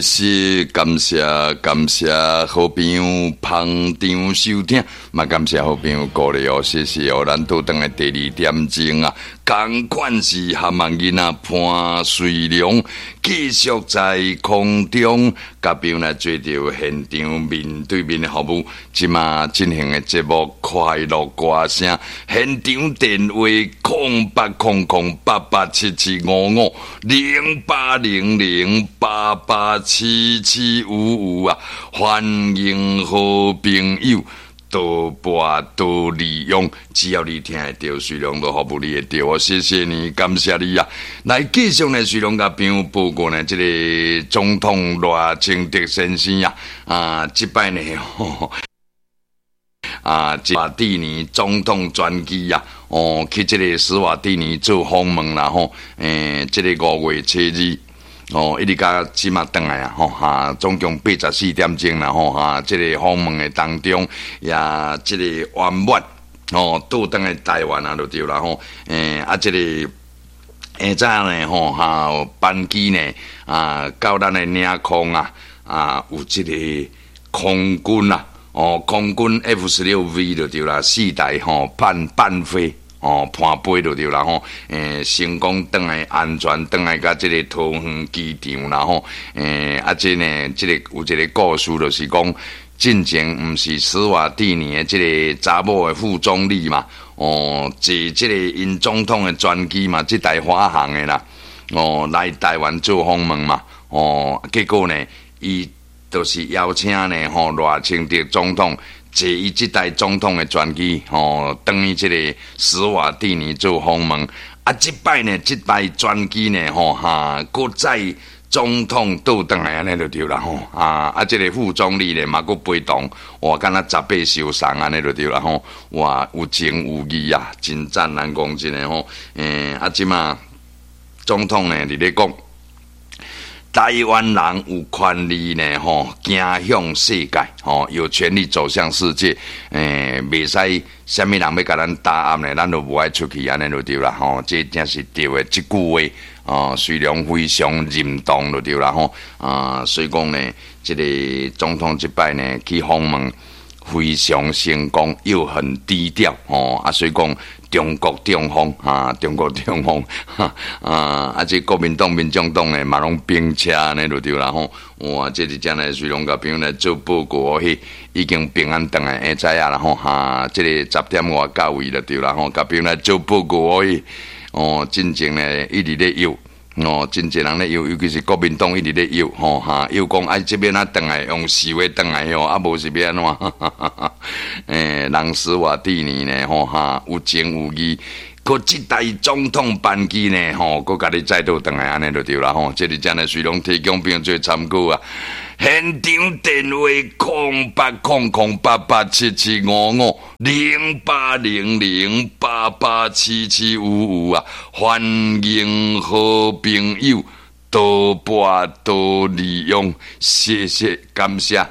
謝謝，感謝感謝好朋友捧場收聽，嘛感謝好朋友鼓勵哦，謝謝哦，咱倒轉來第二點鐘啊，仝款是含萬囡仔潘瑞良，繼續在空中共朋友來做著現場面對面的服務，這馬進行的節目快樂歌聲，現場電話08008877550800887755啊，歡迎好朋友多撥多利用，只要你聽會著，瑞良都服務你會著哦，謝謝你，感謝你啊！來繼續呢，瑞良共朋友報告呢，這个總統賴清德先生啊，啊，這擺呢，啊，史瓦蒂尼總統專機啊，哦，去這个史瓦蒂尼做訪問啦吼，這个5月7日。哦，一直到這馬轉來啊，吼哈，總共84點鐘啦，吼哈，這个訪問的當中，也這个圓滿，哦，倒轉來台灣啊，就對啦吼，啊，這个下早呢，吼哈，班機呢，啊，到咱的領空啊，啊，有這个空軍啊，哦，空軍 F-16V 就對啦，四台吼，伴飛。哦，伴飛就對啦吼，成功轉來安全轉來到這个桃園機場啦吼，啊，這呢，這个有一个故事，就是講進前毋是史瓦蒂尼的這个查某的副總理嘛，哦，坐這个𪜶總統的專機嘛，這台華航的啦，哦，來台灣做訪問嘛，哦，結果呢，伊就是邀請呢，吼，賴清德總統坐伊這台總統的專機，吼，轉去這个史瓦蒂尼做訪問。啊，這擺呢，這台專機呢，吼哈，閣載總統倒轉來按呢就對啦，吼啊啊，這个副總理呢嘛閣陪同，哇，敢若十八相送按呢就對啦，吼，哇，有情有義啊，真讚，咱講真的吼，啊，這馬總統呢佇咧講，台灣人有權利呢，吼，行向世界，吼，有權利走向世界。袂使啥物人欲共咱打壓呢，咱就無愛出去，按呢就對啦，吼，這真是對的，這句話，哦，雖然非常認同就對啦，吼，啊，所以講呢，這个總統這擺呢去訪問非常成功，又很低調，吼，啊，所以講中國中風，哈，中國中風，哈，啊，啊，這國民黨、民眾黨呢嘛攏兵車按呢就對啦，吼，哇，這是真的，雖然共朋友來做報告，彼已經平安轉來，會知影啦，吼，哈，這个十點外到位就對啦，吼，共朋友來做報告，彼，哦，進前呢一直咧憂，哦，真濟人咧憂，尤其是國民黨一直咧憂，吼哈，憂講啊，這欲按怎轉來用示威轉來吼，啊，無是欲按怎？人史瓦蒂尼呢，吼哈，有情有義，閣這台總統班機呢，吼，閣共你載倒轉來，按呢就對啦，吼，這是真的，雖然提供朋友做參考啊。現場電話08008877550800887755啊，歡迎好朋友多撥多利用，謝謝感謝。